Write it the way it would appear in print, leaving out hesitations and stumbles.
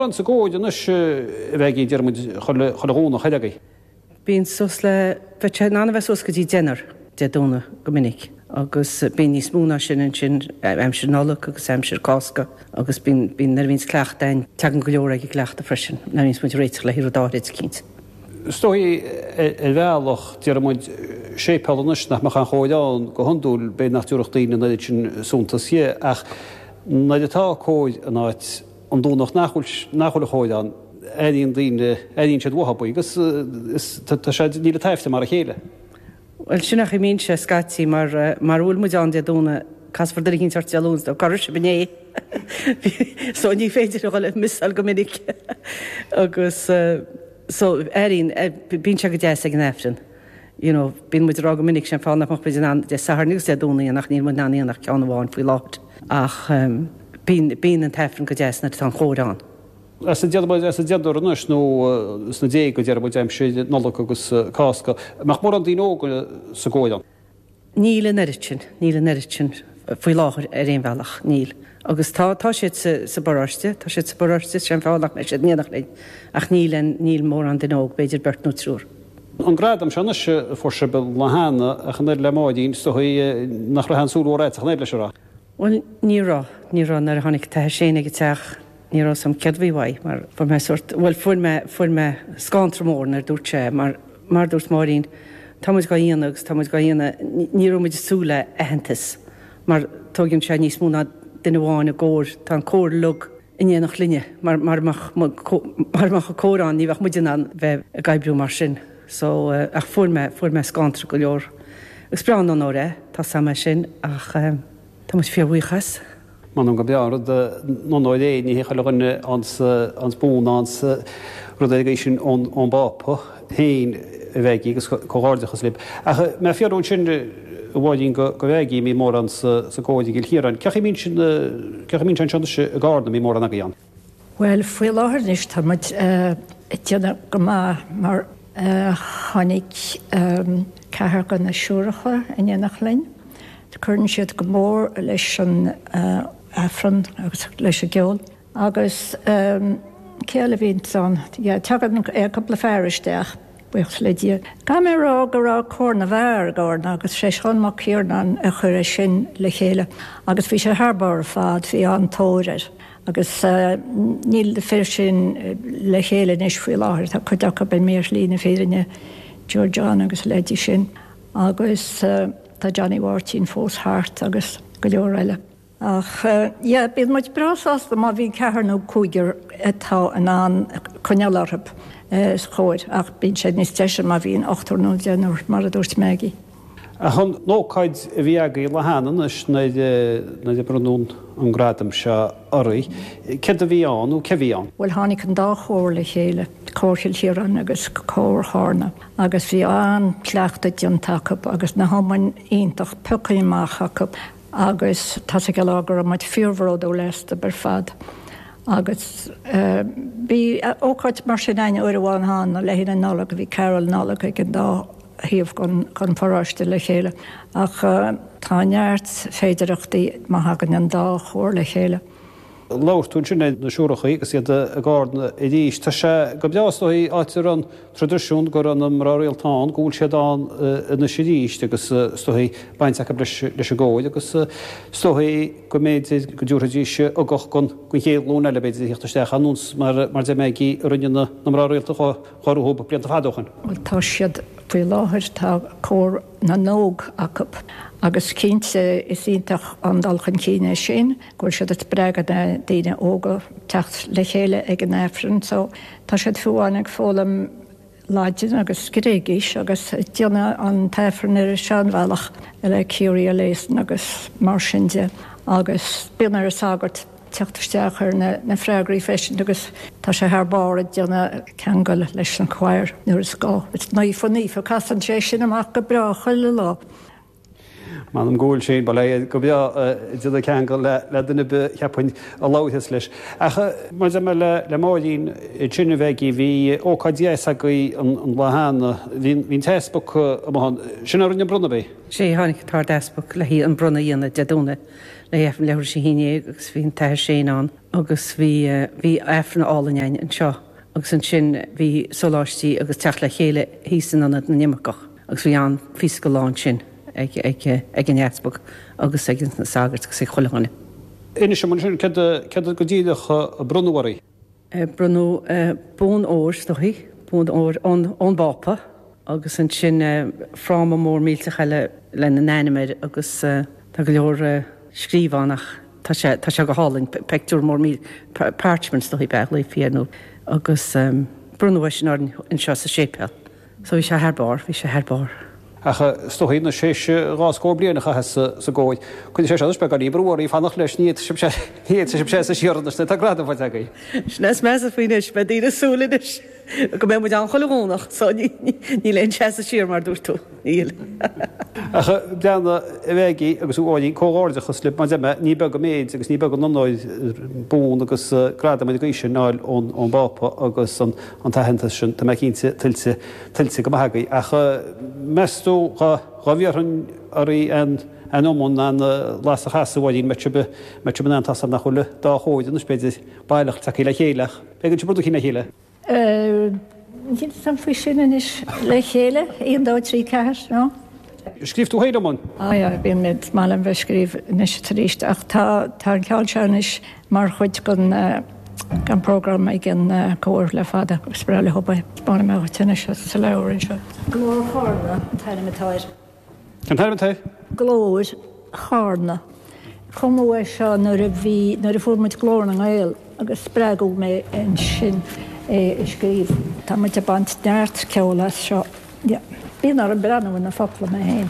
Mórán sa gcóir anois a Mhaggie, deir muid chuile Dhomhnach ar agaibh. Bíonn suas le, bheadh sé in ann a bheith suas go dtí deichniúr Dé Domhnaigh go minic agus bíonn níos mó ná sin ansin aimsir Nollag agus aimsir Cásca agus bíonn, bíonn nuair a bhíonns cleachtadh ann tagann go leor ag an gcleachtadh freisin nuair a bhíonns muid ag réiteach le rud áithrid eicínt. Is dóigh ar bhealach, déarfaidh muid, séipéal anois nach mbeadh aon chóir ann go hiondúil, b'fhéidir nach dtabharfadh daoine an oiread sin suntas dhe ach nuair atá cóir in áit, an Domhnach nach bhfuil, nach bhfuil an chóir ann, airíonn daoine, airíonn siad uathu í agus is, tá sé, níl an t-aifreann mar a chéile. Bhuel, sin é an chaoi a mbíonn sé scaití mar, mara bhfuil muid ann Dé Domhnaigh, casfar duine eicínt ort Dé Luain, so cá raibh sibh inné? So ní féidir a dhul a mhissáil go minic agus so airíonn, bíonn sé go deas ag an Aifreann. You know, bíonn muid ag rá go minic, sin an fáth nach mbeadh muid in ann Dé Sathairn agus Dé Domhnaigh a dhéanamh ach níl muid in ann a dhéanamh ach ceann amháin faoi láthair. Ach bíonn, bíonn an t-Aifreann go deas nuair atá an chóir ann. As an déanamh, as an deichniúr anois nó sna déaga, déarfaidh muid, aimsir Nollag agus Cásca, an mbeadh mórán daoine óga sa gcóir ann? Níl an oiread sin, níl an oiread sin faoi láthair ar aon bhealach, níl. Agus tá, tá siad sa, sa bparóiste, tá siad sa bparóiste, sin an fáth nach mbeidh siad in éineacht linn. Ach níl an, níl mórán duine óg, b'fhéidir beirt nó triúr. An gradam seo anois a fuair sibh an lá cheana, ach an oiread le Máirín, is dóigh nach raibh aon súil mhór agat ach an oiread leis, an raibh? Bhuel, ní raibh, ní raibh. Nuair a tháinig an tAthair Shane ag an teach, ní raibh 'fhios a'm céard a bhí uaidh mar fuair mé sórt, bhuel fuair mé, fuair mé scanradh mór nuair a dúirt sé mar, Mar a dúirt Máirín, tá muid dhá dhéanamh agus tá muid dhá dhéanamh, ní raibh muid ag súil le aitheantas mar tóigeann sé níos mó ná duine amháin i gcór, tá an cór uilig in éineacht linne mar mara mbeadh mara mbeadh an cór ann ní bheadh muid in ann bheith ag oibriú mar sin. So, ach fuair mé, fuair mé scanradh go leor. Is breá an onóir é, tá 's a'm é sin ach tá muid fíorbhuíoch as. M'anam gur breá an rud an onóir é, ní hé chuile dhuine fhaigheanns bonn fhaigheanns rud ar an gcaoi sin ón bPápa féin a Mhaggie agus comhghairdeachas libh. Ach mé ag fiafraí ansin a Mháirín go Mhaggie, an mbíonn mórán sa gcór i gCill Chiaráin. Cén chaoi a mbíonn sin, cén chaoi a mbíonn sé anseo anois i gCarna, an mbíonn mórán agaibh ann? Bhuel, faoi láthair anois tá muid ag déanamh go maith mar tháinig ceathrar de na siúracha in éineacht linn. Cuireann siad go mór leis an Aifreann agus leis an gceol. Agus cé eile a bhíonns ann? Yeah, tagann cúpla fear isteach, buíochas le Dia. Caithfidh mé a rá go raibh Cór na bhFear i gCarna agus sé Seán Mac Ciarnáin a chuir é sin le chéile agus bhí sé thar barr ar fad, bhí an-tóir air. Agus níl na fir sin le chéile anois faoi láthair, tá cuid acu imithe ar shlí na fírinne, Joe John agus a leithéidí sin. Agus tá Johnny Mháirtín fós thart agus go leor eile. Ach yeah, bíonn muid breá sásta má bhíonn ceathrar nó cúigear atá in ann coinneáil orthu sa chóir ach bíonn sé níos deise má bhíonn ochtar nó deichniúr, mar a dúirt Maggie. Ach an ócáid a bhí agaibh an lá cheana anois nuair a bronnadh an gradam seo oraibh, céard a bhí ann nó cé a bhí ann? Bhuel tháinig an dá chór le chéile, Cór Chill Chiaráin agus Cór Chárna agus bhí an-chleachtadh déanta acu agus na hiomainn iontach pioctha amach acu agus tá's ag an lá go raibh muid fíorbhródúil astu ar fad agus bhí ócáid mar sin againn uair amháin cheana le haghaidh na Nollag, bhí carol Nollag ag an dá thaobh den pharóiste le chéile ach tá neart féidireachtaí má thagann an dá chór le chéile. Labhair tú ansin ar na siúrachaí agus iad i gCarna arís. Tá sé go breá is dóigh áit a raibh an traidisiún go raibh na mná rialta ann go bhfuil siad ann anois arís agus is dóigh baint acu leis an gcór agus is dóigh go mb'fhéidir go dtabharfaidís ugach don chéad ghlúin eile b'fhéidir a theacht isteach ar nós mar deir Maggie a rinne na mná rialta chomh rompu blianta fada ó shin. Bhuel, tá siad faoi láthair, tá cór na n-óg acu agus cinnte is iontach an dul chun cinn é sin, go bhfuil siad ag spreagadh na daoine óga teacht le chéile ag an Aifreann. So, tá siad fiú amháin ag foghlaim Laidin agus Gréigis agus ag déanamh an t-Aifreann ar an seanbhealach le Kyrie eleison agus mar sin de agus bíonn ar an sagart teacht isteach ar na freagraí freisin agus tá sé thar barr ag déanamh ceangal leis an choir nuair is gá. Is naofa naofa, casann sé sin amach go breá chuile lá. M'anam go bhfuil sin, bail é go breá ag déanamh ceangal le duine ar bith cheapfainn a labharfas leis. Ach mar a deir mé le Máirín ansin a Mheaigí, bhí ócáid dheas agaibh an lá cheana, bhí an t-easpag amuigh ann, sin é a rinne an bronnadh, ab é? Sea, tháinig an tArd-Easpag le haghaidh an bronnadh a dhéanamh Dé Domhnaigh le haghaidh Aifreann leathuair tar éis a haon dhéag agus bhí an tAthair Shane ann agus bhí bhí Aifreann álainn againn anseo agus ansin bhí sóláistí agus teacht le chéile thíos in Ionad na nImirceach agus bhí an-phíosa de lá ansin ag ag ag an Easpag agus ag na sagairt agus ag chuile dhuine. Inis dom ansin céard céard go díreach a bronnadh oraibh? Bronnadh bonn óir, is dóichí, bonn óir ón ón bPápa agus ansin fráma mór millteach eile lena n-ainm air agus tá go leor scríofa ann ach tá sé tá sé go hálainn, peictiúr mór míl parchment is dóichí ab ea a ghlaofaí air nó agus bronnadh é sin orainn anseo sa séipéal. So bhí sé thar barr, bhí sé thar barr. Ach is dóichí anois théis an dá scór bliain a chaitheamh sa gcór, cuirfidh sé seo anois beagáinín brú oraibh fanacht leis, ní fhéadfaidh sibh ní fhéadfaidh sibh seasamh siar anois nuair atá gradam faighte agaibh. Sin é is measa faoi anois, beidh daoine ag súil anois go mbeidh muid ann chuile Dhomhnach, so níl aon seasamh siar mar a dúirt tú, níl. Ach breathnaigh a Mheaigí agus a Mháirín, comhghairdeachas libh, mar a deir mé, ní beag an méid agus ní beag an onóir bonn agus gradam ar an gcaoi sin a fháil ón bPápa agus an An t-aitheantas sin, tá mé cinnte, tuillte, tuillte go maith agaibh. Ach meas tú, dhá bhiarfainn oraibh an, an iomann, an las a chasadh, a Mháirín, mbeadh sibh, mbeadh sibh in ann, tá's agam nach bhfuil an dá chór anois, b'fhéidir, baileach tagtha le chéile ach b'fhéidir go bhfuil sibh rud eicínt le chéile. Níl fhios agam faoi sin anois. Le chéile? 1, 2, 3, 4, no? Scríobh tú féin iomann? Ah yeah, bíonn mé, is maith liom bheith ag scríobh anois is arís ach tá, tá an ceol seo anois mar chuid den, den program ag an gcór le fada agus is breá leo é. Spáinfidh mé dhuit anois sa leabhar anseo. Glór Chárna an t-ainm atá air. Cén t-ainm atá air? Glór Chárna. Cumadh é seo nuair a bhí, nuair a fuair muid Glór na nGael agus spreagadh mé ansin é a scríobh. Tá muid ag baint neart ceoil as seo. Yeah. Bíonn orm breathnú ar na focla mé féin.